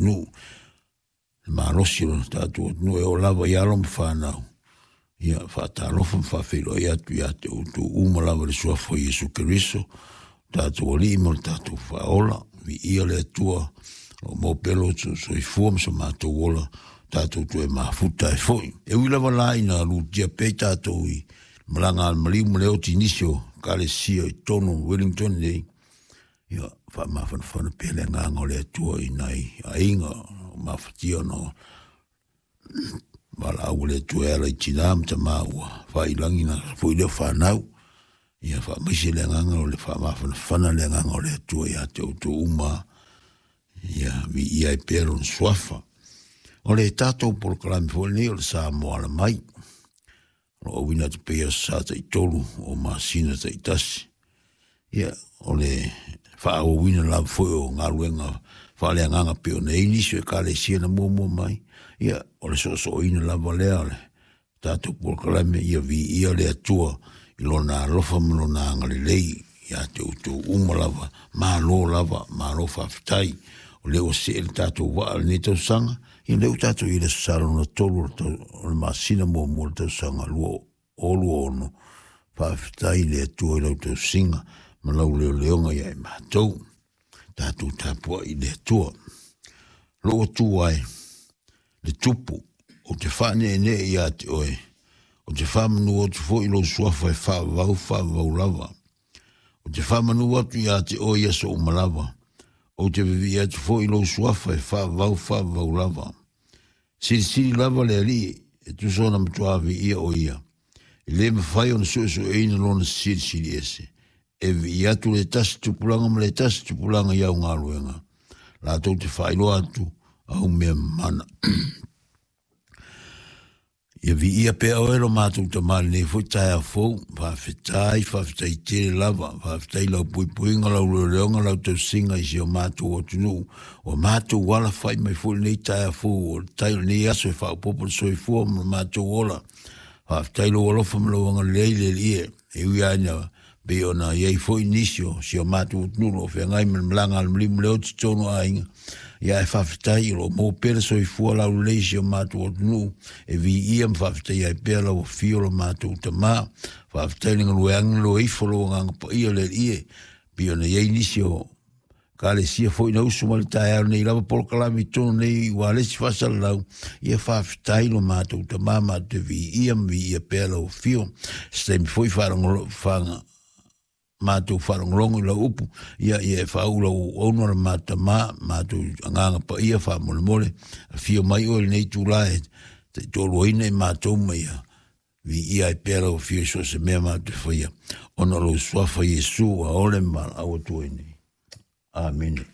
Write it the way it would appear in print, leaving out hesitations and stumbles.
atunuu, le malosi o le tatou atunuu e oo lava i alo ma fanau. Ia, faatalofa ma faafeiloai atu ia te outou uma lava i le suafa o Iesu Keriso, tatou Alii ma le tatou Faaola. Viia le Atua, o lo o maua pea lo outou soifua ma so matou ola, tatou toe mafuta ai foi. E ui lava la ina lutia pea i tatou i malaga a le maliu ma le oti i nisi o ekalesia i totonu o Wellington nei, ia, faamafanafana pea le agaga o le Atua i nai aiga o mafatia ona o valaau a le Atua e ala i tina ma tama ua faailagi na foi lea fanau. Ia faamaise le agaga o le faamafanafana le agaga o le Atua ia te outou uma, ia viia ai pea lona suafa. O le tatou polokalame foi lenei o le Samoa Ala Mai, o lo o auina atu pea i aso Sa taitolu o masina taitasi. Ia, o le faaauauina lava foi o galuega faaleagaga pei ona i ai nisi o ekalesia na muamua mai. Ia, o le soosooina lava lea o le tatou polokalame ia viia le Atua i lona alofa ma lona agalelei ia te outou uma lava. Malo lava, malo faafetai. O lea ua see le tatou vaa i lenei tausaga, ia lea ua tatou i le aso Sa lona 3 o le masina muamua o le tausaga 2026. Faafetai i le Atua i lau tausiga ma lau leoleoga ia i matou. Tatou tapuai i le Atua. Lou Atua e, le Tupu, ou te faaneenee ia te oe, ou te faamanu atu foi i lou suafa e faavavau faavavau lava. Ou te faamanu atu ia te oe i aso uma lava, ou te vivii atu foi i lou suafa e faavavau faavavau lava. Silisili lava le Alii, e tusa ona matua viia o ia. E le mafai ona suesueina lona silisili ese. E vivii atu le tasi tupulaga ma le tasi tupulaga i au galuega, latou te faailoa atu au mea mana. Ia viia pea oe lo matou Tama i lenei foi taeao fou. Faafetai, faafetai tele lava. Faafetai i lau puipuiga, lau leoleoga, lau tausiga i si o matou atunuu. Ua matou alafai mai foi lenei taeao fou o le tai o lenei aso e faaopoopo le soifua ma lo matou ola. Faafetai i lou alofa ma lou agalelei le Alii e. E ui lava ina pei ona i ai foi nisi o si o matou atunuu o lo o feagai ma le malaga a le maliu ma le oti tonu aiga, ia ae faafetai o lo o maua pea le soifua laulelei i si o matou atunuu e viia ma faafetaia ai pea lau afio lo matou Tama. Faafetai i le galue agelo ifo lou Agaga Paia le Alii e pei ona i ai nisi o Ekalesia foi na usu mai le taeao nei lava polokalame i totonu nei ua le isi faasalalau. Ia faafetai lo matou Tama, matou te viia ma viia pea lau afio. Se taimi foi faalogolo faga matou faalogologo i lau upu, ia ia e faauu lau auauna le matou Tama, matou Agaga Paia faamolemole, afio mai oe i lenei itula e taitoaluaina i matou ma ia viia ai pea lau afio i so o se mea matou te faia, ona o lou suafa Iesu ua ole ma valaau atu ai nei. Amene.